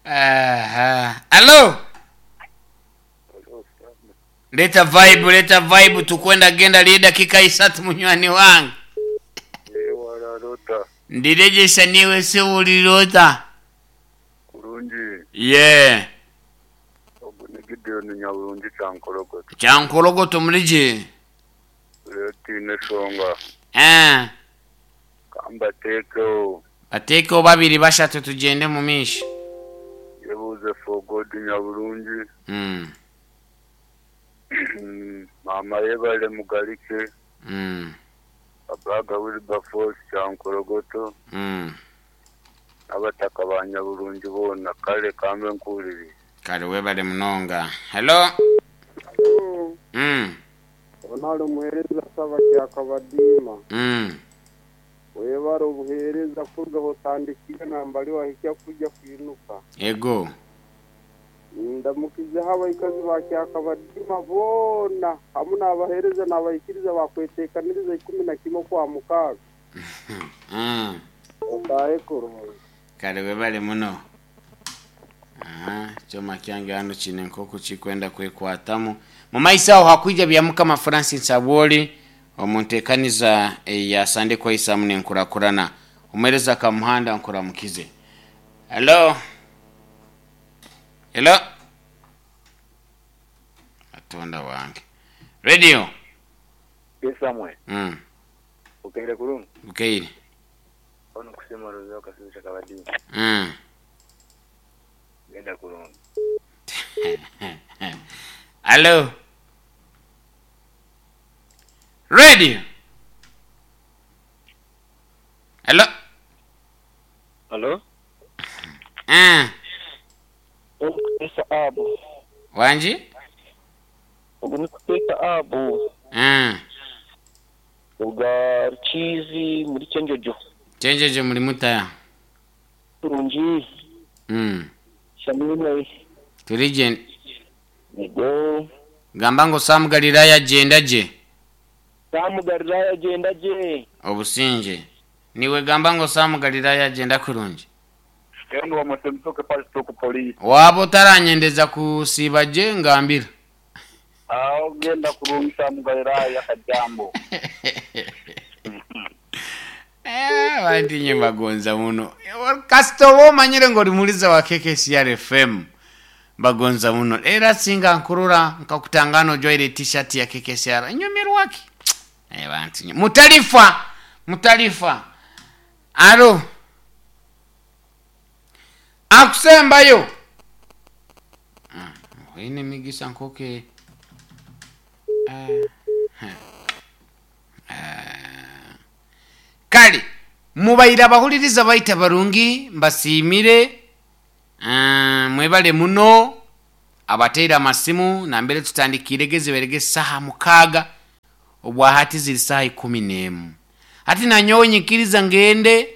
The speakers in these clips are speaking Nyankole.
Aha. Alo! Leta vibe, leta vibe tukwenda genda lye dakika isatu munywani wange. Wararota. Ndiregyesa niiwe sebo orirota. Kurungi. Yee. Ogu ni Gideon Nyaburungi Kyankorogoto. Kyankorogoto muri gye. Reero tihaine eshonga. Eeh. Ka mbateekeho. Bateekeho babiri bashatu tugyende omu maisho. Yebuuze for God Nyaburungi. Mm. Maama Yebare Mugarike. Mm. Abaga Wilberforce Kyankorogoto. Mm. N'abataka ba Nyaburungi boona. Kare ka mbe nkuhuririize. Kare webare munonga. Hello. Hello. Mm. Onu ari omuheereza Saba Kyakabadiima. Mm. Webare obuheereza kuruga ahu otandikiire nambari wahikya kwija kwinuka. Ego. Ndamukizeho abaikazi ba Kyakabadiima boona hamu n'abaheereza n'abaikiriza bakweteekaniriza 11 Okwamukaaga. Mm. Otaahe kurungi. Kare webale muno. Aha, ekyoma kyange hanu kiine nk'oku kirikwenda kwekwatamu. Mumaiso aho hakwija Byamukama Francis Abwoli omu nteekaniza eya Sande Kweisamu n'Enkurakurana. Omuheereza Kamuhanda nkuramukize. Hello? Hello? Katonda wange. Radio? Yes Samuel, Mm. okeire kurungi? Bukeire. Onu Kusiima Roza Kasizi Kyakabadiima. Mm. Genda kurungi. Hello? Radio? Hello? Halo? Ah, Onu Kuteesa Abu. wangi? Ogu ni Kuteesa Abu. Ah, Oga Rukiizi muri Kyenjojo. Kyenjojo muri muta? Kurungi. Mm. Shamimwe. Turi gye. Yego. Gamba ngu Sam Galilaya agyenda gye. Sam Galilaya agyenda gye. Obusingye. Niiwe gamba ngu Sam Galilaya agyenda kurungi. Stand wa Matemtoke Pastor ku police. Waaba otaranyendeza kusiiba gye ngambira. Aho genda kurungi Sam Galilaya kajambo. Eh, abantu inye mbagonza muno. Kasita oba omanyire ngu ori muhuriza wa KKCR FM. Mbagonza muno. Era singa nkurora nkakutangana ojwaire t-shirt ya KKCR. Nyumirwa ki? Eh, bantu inye. Mutalifa. Mutalifa. Alo. Akusembayo. Ah, oine emigisa nkoke. Eh, eh. Kale mubaire abahuririza baitu abarungi mbasiimire ah, mwebale muno abateire amasimu nambere tutandikiire ge zibaire ge saha mukaaga obwahati ziri saha 11 hati nanyowe nyikiriza ngende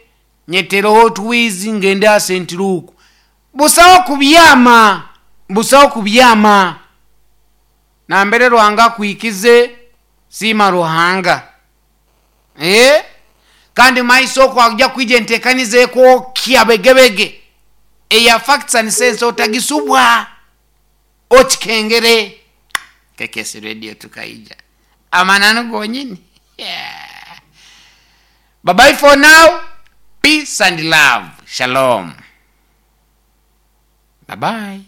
nyetereho otwizi ngende aha St. Luke busaho kubyama busaho kubyama nambere Ruhanga akwikize siima Ruhanga eh kandi maiso okwo haija kwija entekaniza ekwokya begebege eya facts and sense otagisubwa okikengere KKS radio tukaija amananu gonyini yeah. Bye bye for now peace and love shalom bye bye.